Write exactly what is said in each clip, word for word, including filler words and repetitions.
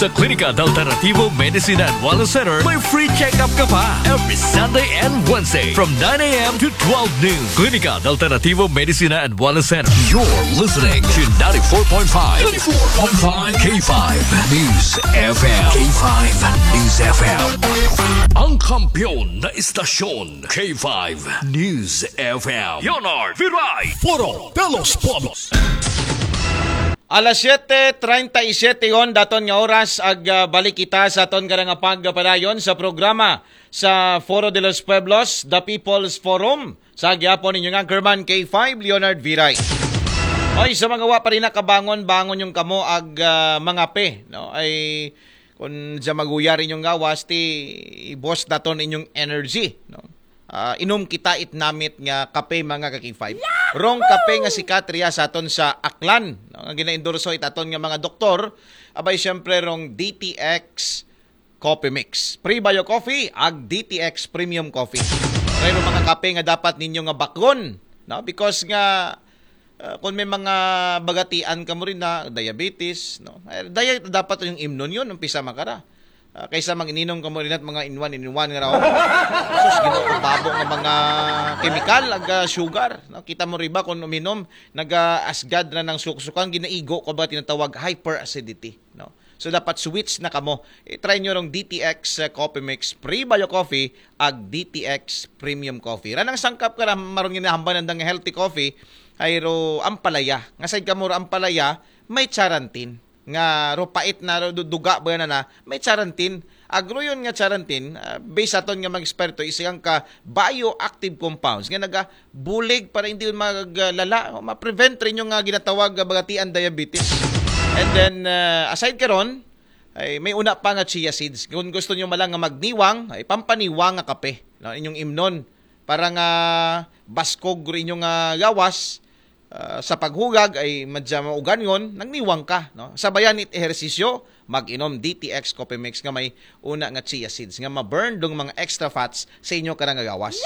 The Clinica de Alternativo Medicina and Wellness Center may free check-up ka pa every Sunday and Wednesday from nine a.m. to twelve noon. Clinica de Alternativo Medicina and Wellness Center. You're listening to ninety-four point five, ninety-four point five K five News F M. K five News F M. Ang kampiyon na istasyon, K five News F M. Leonard Viray. Foro de los Pueblos. Alas siyete treinta y siete yon daton nga oras ag ah, balik kita sa aton karang pagpadayon sa programa sa Foro de los Pueblos, The People's Forum. Sa gihapon ninyo nga Anchorman K five, Leonard Viray. Oy, sa mga wa pa rin nakabangon, bangon yung kamo ag ah, mangape, no? Ay kung sa maguyar inyong gawas, ti ibos naton inyong energy, no? Ah, inom kita it namit nga kape, mga ka-K five. Rong kape nga sikat riya sa aton sa Aklan, no? Nga ginaendorso it aton nga mga doktor, abay siyempre rong D T X Coffee Mix, Prebio Coffee, ag D T X Premium Coffee. Pero mga kape nga dapat ninyo nga bakgon, no? Because nga ah, kung may mga bagatian ka mo rin na diabetes, no? Ay, diet dapat yung imnon yun, umpisa makara. Ah, kaysa mag-ininom ka mo rin at mga in one, in one nga raw. Sus, ginoo ko, babo nga mga kemikal, aga sugar, no? Kita mo riba kung uminom, naga-asgad na ng suksukan, ginaigo ko ba tinatawag hyperacidity, no? So dapat switch na kamo. I-try nyo rong D T X uh, Coffee Mix, Prebio Coffee, ag D T X Premium Coffee. Ranang sangkap ka na marong ginahambal ng healthy coffee, ay ro ampalaya. Nga side ka mo ro ampalaya, may charantin. Nga ro pait na ro du- duga ba na na, may charantin. Agro yun nga charantin, ah, based aton nga mga eksperto, isang ka bioactive compounds nga naga bulig para hindi maglala, o ma-prevent rin yung nga ginatawag nga bagatian diabetes. And then, uh, aside karon, ay may una pa nga chia seeds. Kung gusto niyo malang nga magniwang, ay pampaniwang nga kape, no, inyong imnon para nga baskog rin yung nga gawas ah, sa paghugag ay madya maugangon, nagniwang ka, no? Sabayan it ehersisyo, mag-inom D T X Coffee Mix nga may una nga chia seeds nga ma-burn dong mga extra fats sa inyo karang gawas.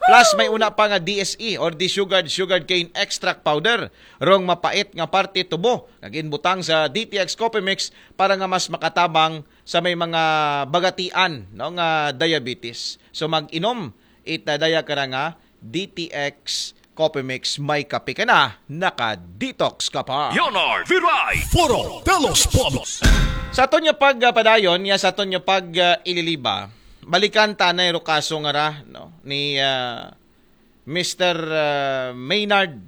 Plus may una pa nga D S E or desugared sugarcane extract powder, rong mapait nga parte tubo nga ginbutang sa D T X Coffee Mix para nga mas makatabang sa may mga bagatian, no, nga diabetes. So mag-inom it daya kara nga D T X Coffee Mix, may kape ka na, naka-detox ka pa. Leonard Viray. Foro de los Pueblos. Sa aton nga pagpadayon, ya sa aton nga pag uh, ililiba, balikan tanay ro kaso nga ra, no, ni uh, Mister uh, Maynard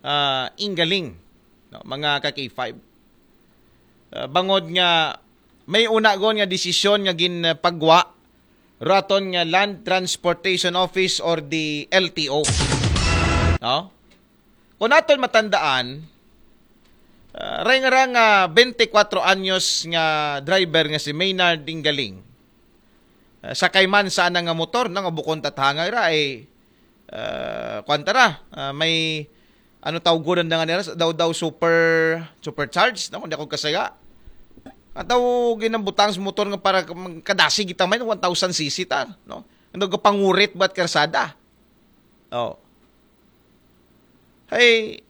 uh, Ingaling, no, mga ka-K five. Uh, bangod nga may una gon nga desisyon nga ginpagwa raton nga Land Transportation Office or the L T O. No? Kung naton matandaan, uh, ray nga ra nga twenty-four anyos nga driver nga si Maynard Ingaling, uh, sakay man sa anang nga motor, no, nga bukon tatangay ra ay uh, kwan tara, uh, may ano tawgon na nga nila daw daw super supercharged, no, kung di ako kasaya. Ataw ginambutang sa motor nga para kadasi kita may one thousand C C ta, no? Ano ga pangurit bat karsada? Oh. Hey,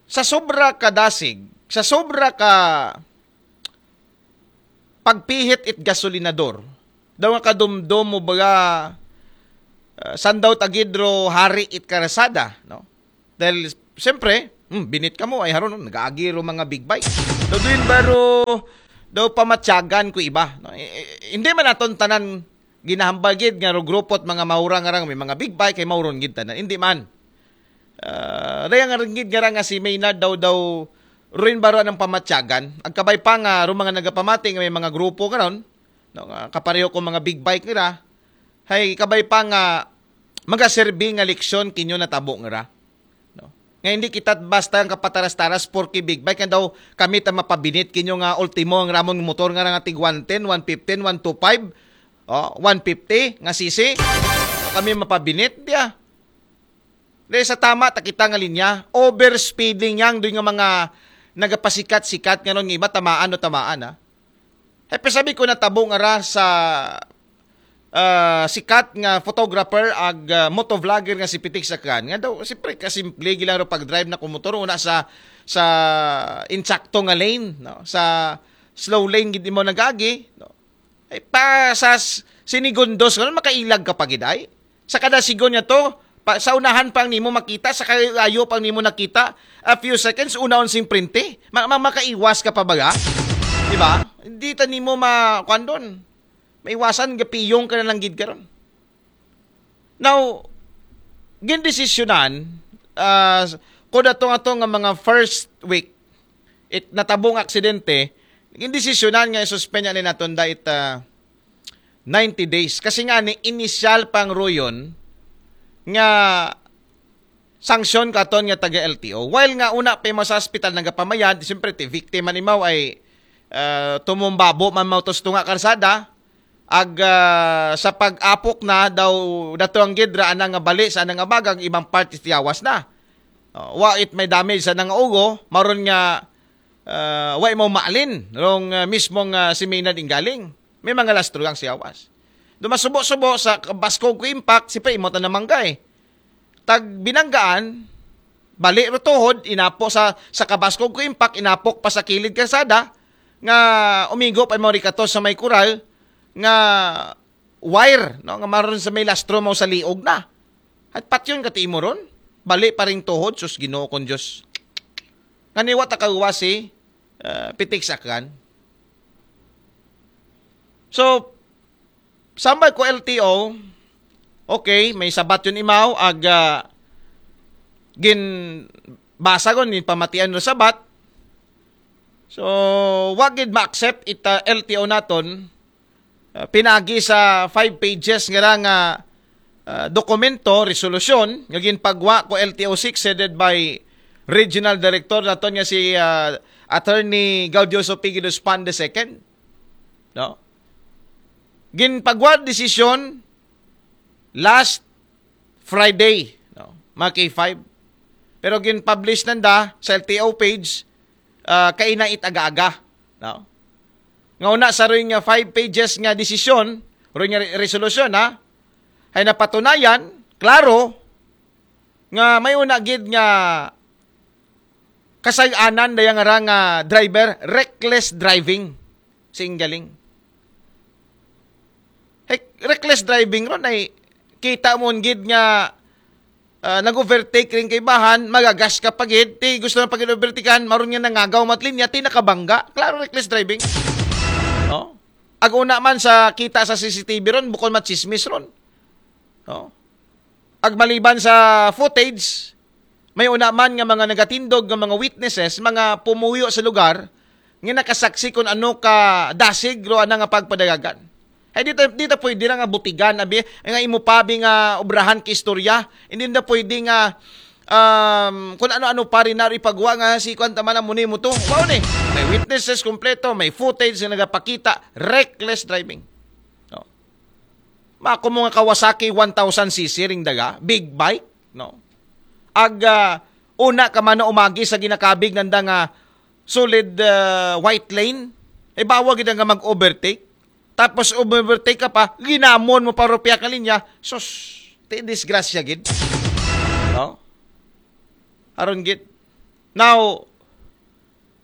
sa sobra ka dasig, sa sobra ka pagpihit it gasolinador, daw nga kadumdom mo baga uh, sandaw tagidro hari it karasada, no? Dahil siyempre, hmm, binit ka mo ay haron no? Nagaagi ro mga big bike. Daw din baro daw pamatyagan ko iba, no? E, e, hindi man aton tanan ginahambagid nga ro grupo at mga maurang arang may mga big bike kay mauron gid tanan. Hindi man. Uh, raya nga ringgid nga ra nga si Maynard daw daw ruin baro ang pamatyagan. Agkabay pa nga ro mga nagapamati nga may mga grupo karon, no, nga kapareho ko mga big bike nira. Hay kabay pa nga magaserbi nga leksyon kinyo natabo ngira. No? Nga hindi kita basta ang kapataras-taras porke big bike nga daw kami ta mapabinit kinyo nga ultimo ang ramon motor nga nga tig one ten, one fifteen, one twenty-five, oh, one fifty nga C C. Kami mapabinit diya. Dahil sa tama ta kita nga linya, overspeeding yang doy nga mga nagapasikat-sikat nga ron nga iba tamaan o tamaan ha. Hepe sabi ko natabo nga ra sa ah, sikat nga photographer ag ah, motovlogger nga si Pitik Sakran, nga daw siyempre kasimple gila ro pag-drive na kumotor una sa sa insakto nga lane, no? Sa slow lane gid mo nagagi, no? Ay pa sa s- sinigundos nga makailag ka pa gid ay. Sa kada sigon niya to, pa, sa unahan pa ang nimo makita, sa kalayo pa ang nimo nakita, a few seconds una on sing printe. Ma, ma, makaiwas ka pa baga? Di ba? Hindi ta nimo ma kuan doon. Maiwasan gapiyong ka na lang gid karon. Now, gindesisyonan, ah, kung ato nga to nga mga first week, it natabong aksidente, gindesisyonan nga isuspend ni naton da it ah, ninety days. Kasi nga ni initial pang ruyon nga sanksyon katon nga taga L T O. While nga una pa mo sa hospital nagapamayad, siyempre ti victim man imaw ay ah, tumumbabo man mautos tunga karsada, ag ah, sa pag-apok na daw dato ang gidra anang nga bali sa anang abagang ibang parts tiyawas na. Oh, wa it may damage sa nang ugo, maron nga ah, wa mo maalin rong ah, mismong ah, si Maynard Inggaling. May mga lastro ang siyawas. Dumasubo-subo sa baskog ko impact, si pa imo ta namanggay. Tag binanggaan, bali ro tuhod, inapo sa sa kabaskog ko impact, inapok pa sa kilid kalsada nga umigo pa mo rikato sa may kural nga wire, no, nga maron sa may lastro mo sa liog na. At patyon ka ti imo ron, bali pa ring tuhod, sus Ginoo kong Diyos. Nga niwa ta kaguwa si ah, Pitik Sakran. So, sambay ko L T O, okay, may sabat yun imaw, ag ah, gin basa ko ni pamatian no sabat. So, wa gid ma-accept ita L T O naton ah, pinagi sa five pages nga ra nga ah, dokumento, resolusyon nga ginpagwa ko L T O six headed by Regional Director naton nga si ah, Attorney Gaudioso Pigidos Pan the second. No? Ginpagwa desisyon last Friday, no? Mga K five. Pero gin-publish nanda sa L T O page ah, kaina it aga-aga, no? Nga una sa roy nga five pages nga desisyon, roy nga re- resolusyon, ha? Ay napatunayan, klaro, nga may una gid nga kasay-anan daya nga ra nga driver, reckless driving. Si Inggaling. Hey, reckless driving ron ay kita mo gid nga ah, nag-overtake rin kay bahan, magagas ka pagid, ti gusto na pagid overtakean, maron nga nangagaw mat linya, ti nakabangga. Klaro, reckless driving. No? Ag una man sa kita sa C C T V ron, bukod machismis ron. No? Ag maliban sa footage, may una man nga mga nagatindog nga mga witnesses, mga pumuyo sa lugar, nga nakasaksi kung ano ka dasig ro ana nga pagpadagagan. Ay, di ta, di ta pwede ra nga butigan, abi, nga imo pa, abi, nga obrahan ka istorya. Hindi na pwede nga, um, kung ano-ano pa rin na ipagwa nga si kwan tama na muni mo to. Wow ni. May witnesses kompleto, may footage na nagapakita, reckless driving. No. Mako mo nga Kawasaki one thousand C C ring daga, big bike, no. Ag ah, una ka man na umagi sa ginakabig nanda nga solid ah, white lane, ay bawa gid nga mag-overtake. Tapos overtake ka pa, ginamon mo pa rupya ka linya, sus, ti disgrasya gid. No? Aron gid. Now,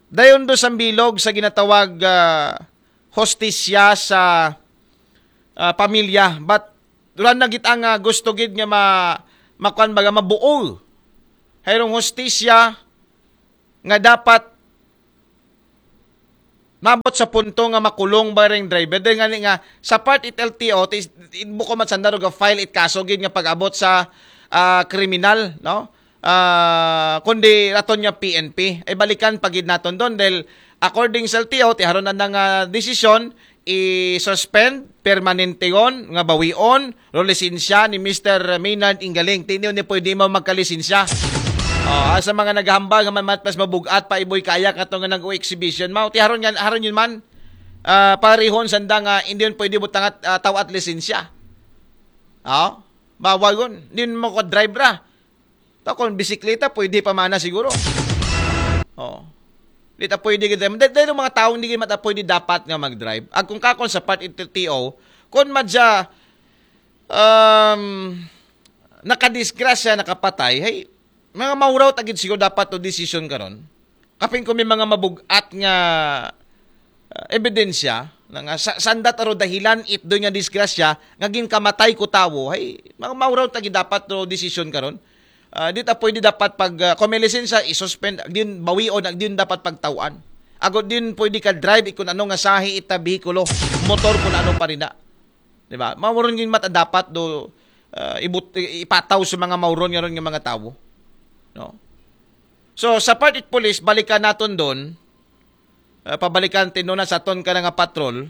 dayon do sa bilog sa ginatawag ah, hostisya sa ah, pamilya, but duran na gid ang ah, gusto gid nga ma makuan baga mabuol. Hayrong hostisya nga dapat nabot sa punto nga makulong ba ring driver. Dahil nga ni nga sa part it L T O, ti- it buko man sanda ro ga file it kaso gid nga pag-abot sa ah, kriminal, no? Ah, kundi raton nga P N P. Ay balikan pa gid naton don dahil according sa L T O, ti haron na nga desisyon, i-suspend, permanenteon, nga bawion, ro lisensya ni Mister Maynard Inggaling. Ti niyo ni pwede mo magkalisensya. Oh, sa mga naghambal nga mamat mas mabugat pa iboy kaya kato nga nag-exhibition mao. Ti haron nga haron yun man. Ah, parihon sanda nga hindi yun pwede butangat uh, tawat lisensya. Oh, bawal yun. Hindi yun mo ko drive ra. Ta kung bisikleta pwede pa mana siguro. Oh. Di ta pwede gid. Dahil dahil mga taong hindi gid mata pwede dapat nga mag-drive. Ag kung kakon sa part ito T O, kung madya um, nakadisgrasya, nakapatay, hey, mga mawraw tagid siguro dapat to decision karon. Kapin ko may mga mabugat nga uh, ebidensya na nga sa, sanda taro dahilan it doy nga disgrasya nga ginkamatay ko tawo, hey, mga mawraw tagid dapat to decision karon. Uh, di ta pwede dapat pag uh, kung may lisensya, isuspend, din bawion, din dapat pagtawan. Ago din pwede ka drive ikon ano nga sahi ita behikulo, motor kun ano pa rin na. Di ba? Mawron yung mata dapat do uh, ibut, ipataw sa mga mawron nga ron nga mga tawo. No? So, sa part it police, balikan naton doon, uh, pabalikan tinuna sa ton ka nga patrol,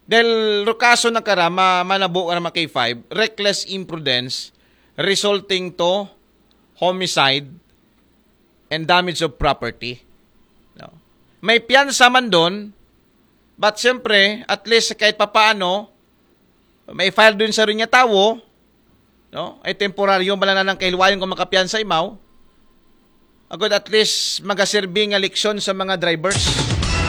dahil rukaso na kara, ma, manabo ka na mga K five, reckless imprudence resulting to homicide and damage of property. No? May piyansa man doon, but siyempre, at least kahit papaano, may file doon sa rin nga tawo, no? Ay temporaryo, bala na lang kahilwayon kung makapiyansa imaw. Agod at least magaserbi nga leksyon sa mga drivers.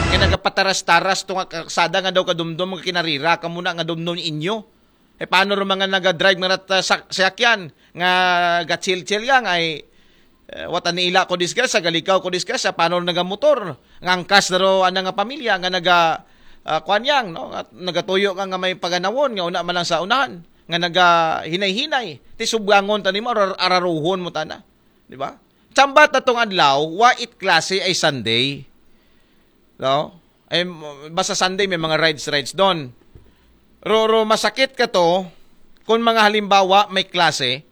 Kaya nagapataras-taras to nga karsada nga daw kadumdum nga kinarira ka muna nga dumdum inyo. Eh, paano ro mga naga-drive nga rat-, sa, sayakyan nga gachill-chill lang ay eh, wata ni ila ko disgrasya, galikaw ko disgrasya, paano ro nagamotor? Nga angkas na ro ana nga pamilya nga naga uh, kuan yang, no? At nagatuyo ka nga may paganawon nga una man lang sa unahan nga naga hinay-hinay. Ti subgangon ta nimo arar- araruhon mo tana, di ba? Chambat na tong adlaw, wa it klase ay Sunday. No? Ay, basta Sunday may mga rides rides doon. Ro, ro masakit ka to kung mga halimbawa may klase,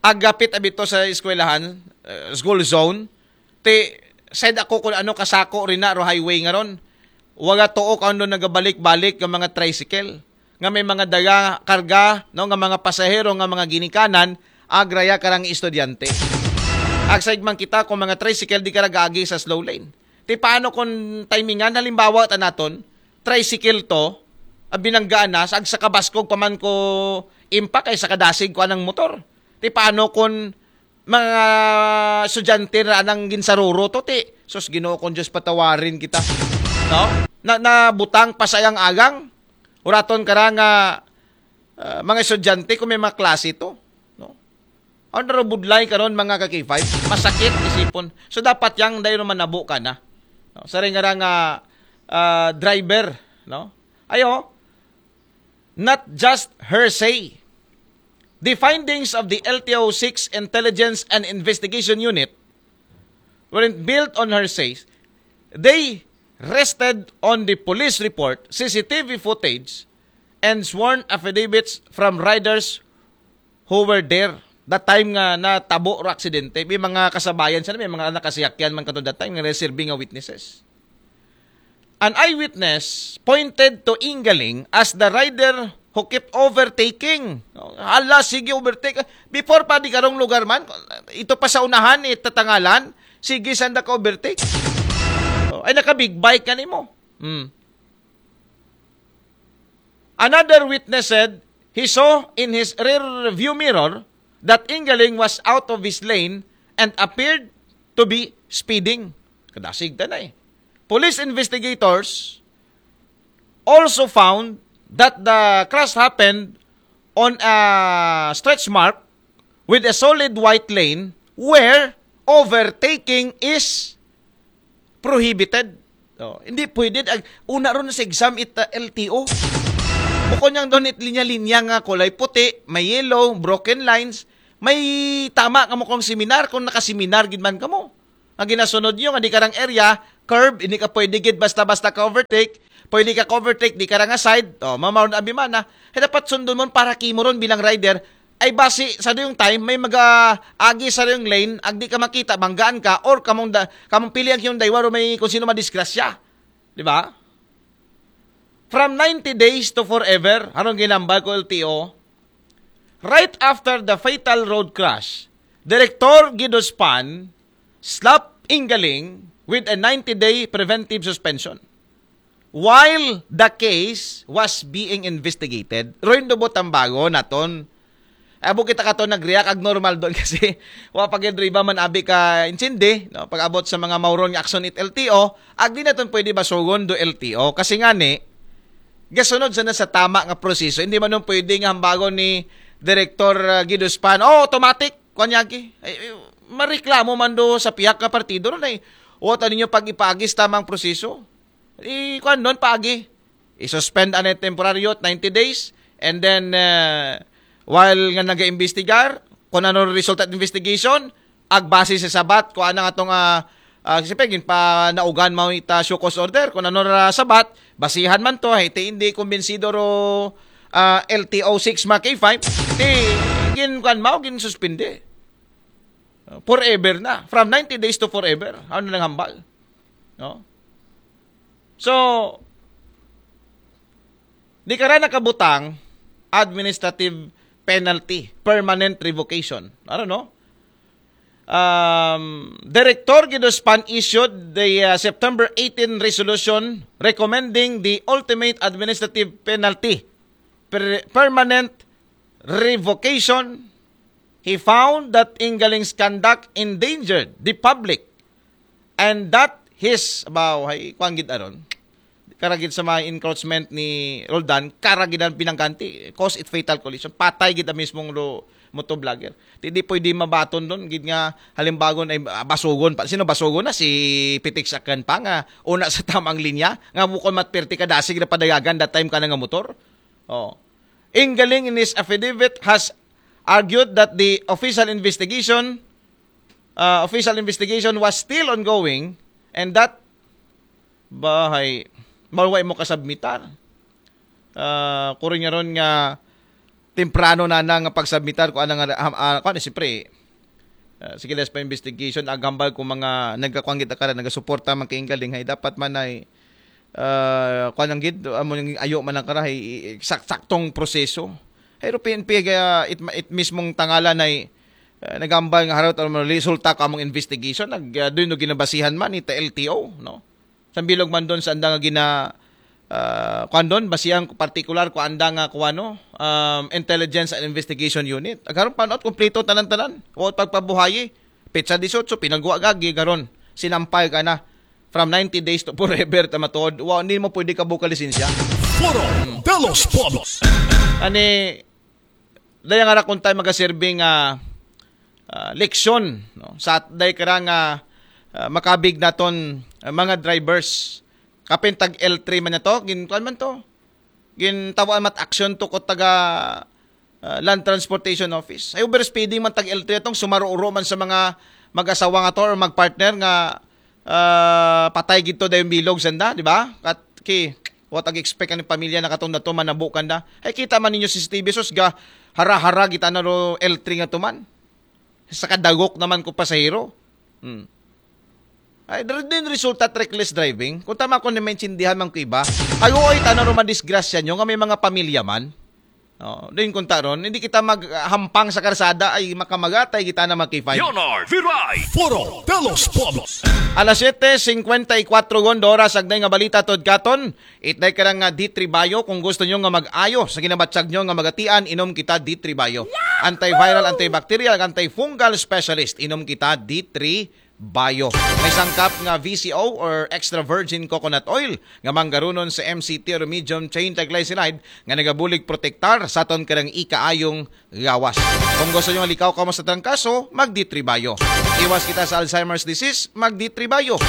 agapit abito sa eskwelahan, uh, school zone, ti said ako kung ano kasako rin na ro highway nga ron. Waga tuo ka doon nagabalik-balik ng mga tricycle nga may mga daga karga, no, nga mga pasahero, nga mga ginikanan, agraya karang estudyante. Agsaig man kita kung mga tricycle di karagagi sa slow lane. Ti paano kung timingan, halimbawa ta naton, tricycle to, ang binanggaan na, sa agsa kabaskog pa man ko impact ay sa kadasig ko anang motor. Ti paano kung mga estudyante na anang ginsaruro to, ti, sus, Ginoo kong Diyos, patawarin kita. No? Na, na butang pa sa iyang agang, uraton ka nga uh, mga estudyante kung may mga klase to. No? Ang narubudlay karon mga ka-K five, masakit isipon. So dapat yang dahil manabo ka na. No? Sa rin nga nga uh, driver, no? Ayo, not just hearsay. The findings of the L T O six Intelligence and Investigation Unit weren't built on hearsay. They rested on the police report, C C T V footage, and sworn affidavits from riders who were there that time nga natabo ro aksidente. May mga kasabayan sila, may mga nakasiyakyan man kato that time nga reserve nga witnesses. An eyewitness pointed to Ingaling as the rider who kept overtaking. Hala, sige, overtake. Before pa di karong lugar man, ito pa sa unahan, eh, tatangalan, sige, sanda ka overtake. Oh, ay, naka-big bike ka nimo. Hmm. Another witness said he saw in his rear view mirror that Ingaling was out of his lane and appeared to be speeding. Kadasig ta na eh. Police investigators also found that the crash happened on a stretch mark with a solid white lane where overtaking is prohibited. Oh, hindi pwede. Ag, una ron sa exam it uh, L T O. Bukod niyang doon it linya-linya nga kulay puti, may yellow, broken lines, may tama ka mo kung seminar, kung nakaseminar gid man ka mo. Ang ginasunod niyo, nga di karang area, curb, hindi ka pwede gid basta-basta ka overtake, pwede ka ka-overtake, di karang side, oh, mamaron abimana. Kaya dapat sundon mo para kimo ron bilang rider, ay basi sa yung time, may mag-agi sa yung lane, agdi ka makita, banggaan ka, or kamong, da, kamong pili ang yung daywa, may kung sino madisgrasya. Di ba? From ninety days to forever, harong ginambal ko L T O, right after the fatal road crash, Director Guido Span slapped Ingaling with a ninety-day preventive suspension while the case was being investigated. Roy Dubo Tambago naton. Abo kita kato nag-react ag normal doon kasi wa pa gyud riba man abi ka intindi, no? Pag-abot sa mga mauron nga aksyon it L T O, ag di naton pwede basugon do L T O kasi nga ni gasunod sana sa tama nga proseso. Hindi man nun pwede nga hambagon ni Direktor uh, Giduspan, oh, automatic, kuan yagi. Ay, ay, mareklamo man do sa pihak nga partido ron ay, o, ano ninyo pag ipaagi sa tamang proseso? I, kuan nun, paagi. I-suspend anay temporaryo, ninety days, and then, uh, while nga nag-imbestigar, kung ano resulta ng investigation, agbase sa sabat, kung anang atong, uh, uh, siyempre, gin pa naugan mo ita show cause order, kung ano ra sabat, basihan man to, hey, ti hindi kumbinsido ro uh, L T O six mga K five, ti gin kuan mo, gin suspende. Uh, forever na. From ninety days to forever. Ano nang hambal? No? So, di ka ra nakabutang administrative penalty, permanent revocation. Ano, no? Um, Director Giduspan issued the uh, September eighteen resolution recommending the ultimate administrative penalty, per- permanent revocation. He found that Ingaling's conduct endangered the public and that his, abaw, hay, kuan gid aron. Karagid sa mga encroachment ni Roldan, karagidan pinangganti, cause it fatal collision. Patay gid ang mismong lo, motovlogger. Di, di pwede mabaton doon. Gid nga, halimbagon ay ah, basugon pa. Sino basugon na? Si Pitik Sakyan pa nga una sa tamang linya. Nga bukon matpirti ka dasig na padayagan that time ka na nga motor. Oh. Ingaling in his affidavit has argued that the official investigation uh, official investigation was still ongoing and that bahay maway mo kasabmitar. Uh, kuri nga ron nga temprano na na nga pagsabmitar ko anang uh, uh, kuan siyempre uh, sige, pa investigation agambal ko mga nagkakuanggit akara nagasuporta man kay galing hay dapat man ay uh, kuan ang gid amo yung ayo man ang kara hay sak- saktong proseso. Pero P N P uh, it, it mismong tangalan ay uh, nagambal nga harot ang resulta ko among investigation nag uh, doon no ginabasihan man ita L T O, no? Sambilog man doon sa andang gina uh, kuan doon basihan ko partikular ko andang uh, kuano um, intelligence and investigation unit. Agaron pano't kompleto tanan-tanan. Wa pagpabuhayi. Petsa disiotso pinagwa gagi garon. Sinampay ka na. From ninety days to forever ta matuod. Wa ni mo pwede ka buka lisensya. Foro de los Pueblos. Ani daya nga ra kung tayo magaserbi nga ah, leksyon, no? Sa day kara nga ah, makabig naton ah, mga drivers. Kapin tag L three man na to, gin kuan man to. Gin tawaan mat action to ko taga ah, Land Transportation Office. Ay overspeeding man tag L three atong sumaruro man sa mga mag-asawa nga to or magpartner nga ah, patay gid to dayon bilog sanda, di ba? Kat ki what ag expect ang pamilya na katong dato manabukan da. Ay kita man ninyo C C T V sus ga hara-hara kita na ro L three nga tuman. Sa kadagok naman ko pasahero. Hmm. Ay, dr- din resulta reckless driving. Kung tama ko na maintindihan man ko iba, ayo ay tana ro madisgrasya nyo nga may mga pamilya man. Oh, din kung taron, hindi kita maghampang sa karsada ay makamagatay kita na magkifay. Leonard Viray, Foro de los Pueblos. Alas siyete singkwenta y kwatro gondo oras agday nga balita tod katon. Itday ka nga D three Bio kung gusto nyo nga mag-ayo sa ginabatsag nyo nga magatian, inom kita D three Bio. Antiviral, antibacterial, antifungal specialist, inom kita D three Bio. May sangkap nga V C O or extra virgin coconut oil nga manggarunon sa M C T or medium chain triglyceride nga nagabulig protektar sa aton karang ikaayong gawas. Kung gusto nyo likaw kamo sa trangkaso, mag D three Bio. Iwas kita sa Alzheimer's disease, mag D three Bio.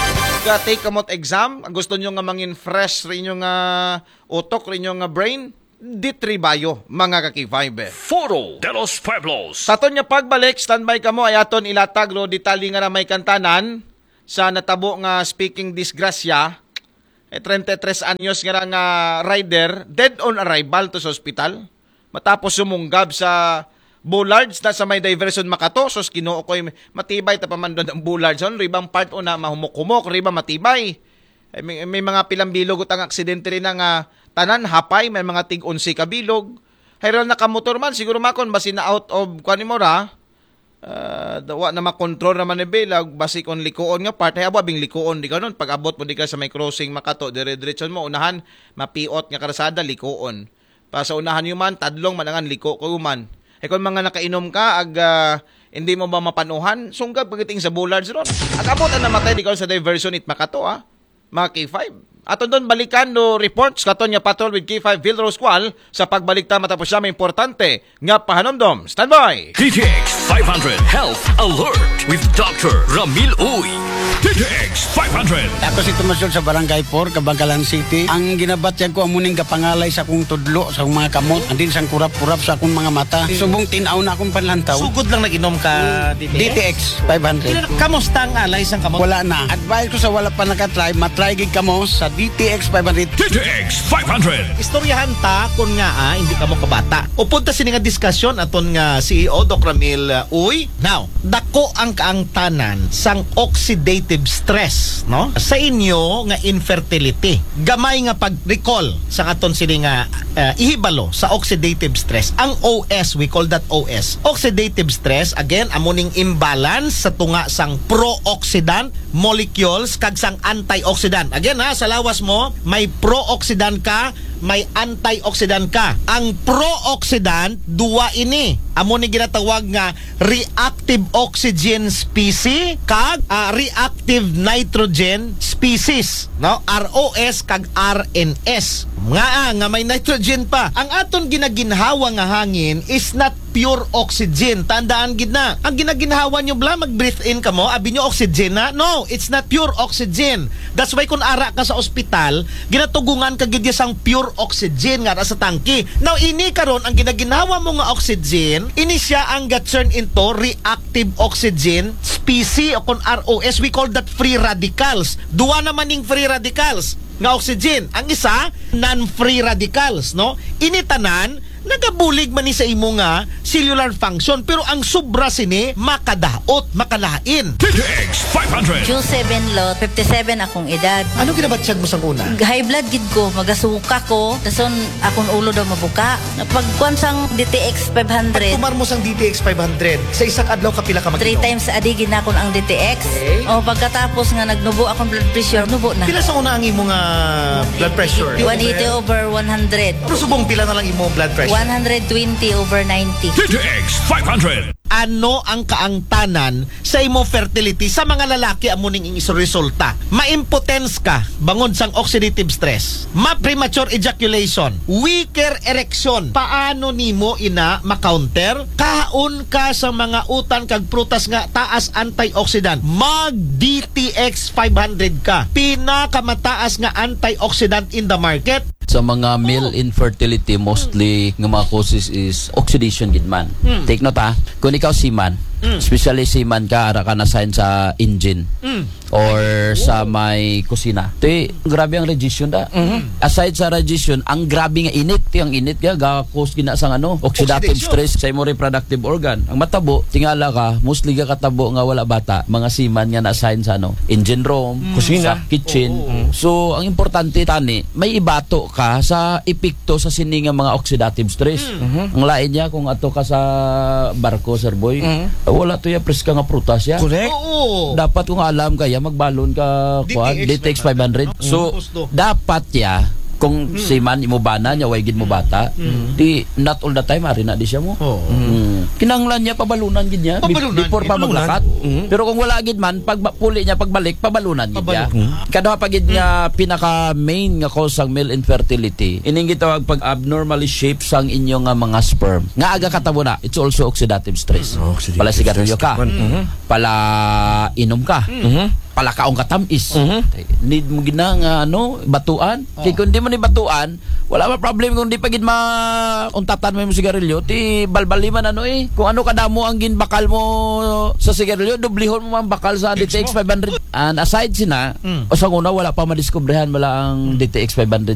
Ka take kamot exam, gusto nyo nga mangin fresh rin yung uh, utok, rin yung uh, brain, D three Bio, mga kakivibe. Foro de los Pueblos. Sa aton nga pagbalik, standby kamo ay aton ilatag lo detalye nga na may kantanan sa natabo nga speaking disgrasya. Eh, treinta y tres anyos nga ra nga rider, dead on arrival to sa ospital. Matapos sumunggab sa bollards na sa may diversion makato, sus Ginoo ko'y matibay ta pamandon ang bollards. Hon, ribang part una, mahumok-humok, riba matibay. Eh, may, may mga pilang bilog utang aksidente rin na nga tanan, hapay, may mga tig onse ka bilog. Hayran nakamotor man, siguro makon, basi na out of, kuan mo ra, ah, da- wa na makontrol naman ni Bela, basi kung likuon nga part, ay abo, abing likuon, di ka nun, pag abot mo di ka sa may crossing, makato, dire-diretso mo, unahan, mapiot nga karsada, likuon. Pa sa unahan yung man, tadlong manangan, liko ko man. Ay kung mga nakainom ka, ag, ah, hindi mo ba mapanuhan, sunggab pagiting sa bollards ron. Ag abot ang namatay, di ka sa diversion, it makato, ah. Mga K five. Aton don balikan no reports katon nga Patrol with K five Vilrose Kual sa pagbalik ta matapos siya may importante nga pahanumdom. Standby! D T X five hundred Health Alert with Doctor Ramil Uy. D T X five hundred. Ako si Tomas Yol sa Barangay four, Kabangkalan City. Ang ginabatyag ko, amo ning gapangalay sa kong tudlo, sa mga kamot, andin sang kurap-kurap sa akong mga mata. Subong tinaw na akong panlantaw. Sugod lang nag-inom ka, D T X? D T X five hundred. Kamusta ang alay sang kamot? Wala na. Advice ko sa wala pa nakatry, matry gid kamo sa D T X five hundred. D T X five hundred. Istoryahan ta kung nga ah, hindi ka mo kabata. Upod ta sini nga diskusyon aton nga C E O, Doc Ramil uh, Uy. Now, dako ang kaangtanan sang oxidative stress, no? Sa inyo nga infertility. Gamay nga pag-recall sa aton sini nga uh, ihibalo sa oxidative stress. Ang O S, we call that O S. Oxidative stress, again, amo ning imbalance sa tunga sang pro-oxidant molecules kag sang antioxidant. Again ha, sa lawas mo, may pro-oxidant ka, may antioxidant ka. Ang pro-oxidant, duwa ini. Amo ni ginatawag nga reactive oxygen species kag ah, reactive nitrogen species, no? R O S kag R N S. Nga ah, nga may nitrogen pa. Ang aton ginaginhawa nga hangin is not pure oxygen. Tandaan gid na. Ang ginaginhawa nyo bla, mag-breathe in ka mo, abi nyo oxygen na. No, it's not pure oxygen. That's why kung ara ka sa ospital, ginatugungan ka gid sang pure oxygen nga sa tangke. Now, ini karon ang ginaginhawa mo nga oxygen, ini siya ang ga-turn into reactive oxygen species o kung R O S, we call that free radicals. Duwa naman ning free radicals nga oxygen. Ang isa, non-free radicals, no? Ini tanan, nagabulig man ni sa imo nga cellular function, pero ang sobra sini makadaot, makalain. D T X five hundred. June seven, Lot, fifty-seven akong edad. Ano ginabatyag mo sang una? High blood gid ko, magasuka ko, dason akong ulo daw mabuka. Pagkuan sang D T X five hundred, Tumar mo sang D T X five hundred, sa isang adlaw kapila ka three mag-inom? Times a day ginakon ang D T X. Okay. O pagkatapos nga nagnubo akong blood pressure, nubo na. Pila sa una ang imo nga blood pressure? One eighty over one hundred. Pero subong pila na lang imo blood pressure? One hundred twenty over ninety. D T X five hundred. Ano ang kaangtanan sa imo fertility sa mga lalaki? Amo ning ing resulta, maimpotence ka bangod sang oxidative stress, ma-premature ejaculation, weaker erection. Paano nimo ina ma-counter? Kaon ka sa mga utan kag prutas nga taas antioxidant. Mag D T X five hundred ka, pinakamataas nga antioxidant in the market. Sa mga male infertility, mostly nga mga causes is oxidation gid man. Take note ha, kung ikaw seaman, especially seaman ka, ara ka na-assign sa engine or sa may kusina. Ti, grabe ang radiation da. Aside sa radiation, ang grabe nga init, ti ang init ga ga-cause gina sang ano, oxidative Oxidation. Stress sa imo reproductive organ. Ang matabo, tingala ka, mostly ga katabo nga wala bata, mga seaman nga na-assign sa ano, engine room, Kusina. Sa kitchen. So, ang importante tani, may ibato ka sa epekto sa sini nga mga oxidative stress. Ang lain niya kung ato ka sa barko, Sir Boy, wala to ya preska nga prutas ya. Correct. Oo. Dapat kung alam ka ya, magbalon ka kuan, D T X D T X five hundred. five hundred, no? So, Gusto. dapat ya, kung seaman, imo bana niya, way gid mo bata, di, not all the time, ari na di siya mo. Oo. Mm. Kinahanglan niya pabalunan gid niya be- Pabalunan, before pa pabalunan. maglakat. Mm. Pero kung wala gid man, pag puli niya pagbalik, pabalunan gid niya. Pabalunan. Kada pa gid nga pinaka main nga cause sang male infertility, ining gitawag pag abnormally shape sang inyo nga mga sperm. Nga aga katabo na, it's also oxidative stress. Oxidative Pala sigarilyo stress ka, naman. Mhm. pala inom ka, Mhm. pala kaon ka tamis. Mhm. Need mo gid na nga ano, batuan. Kay kung di mo ni batuan, wala pa problem kung di pa gid ma untatan mo yung sigarilyo. Ti balbali man ano eh. Kung ano kadamo ang ginbakal mo sa sigarilyo, dublihon mo man bakal sa D T X five hundred. And aside sina, o sa una wala pa madiskubrihan wala ang D T X five hundred.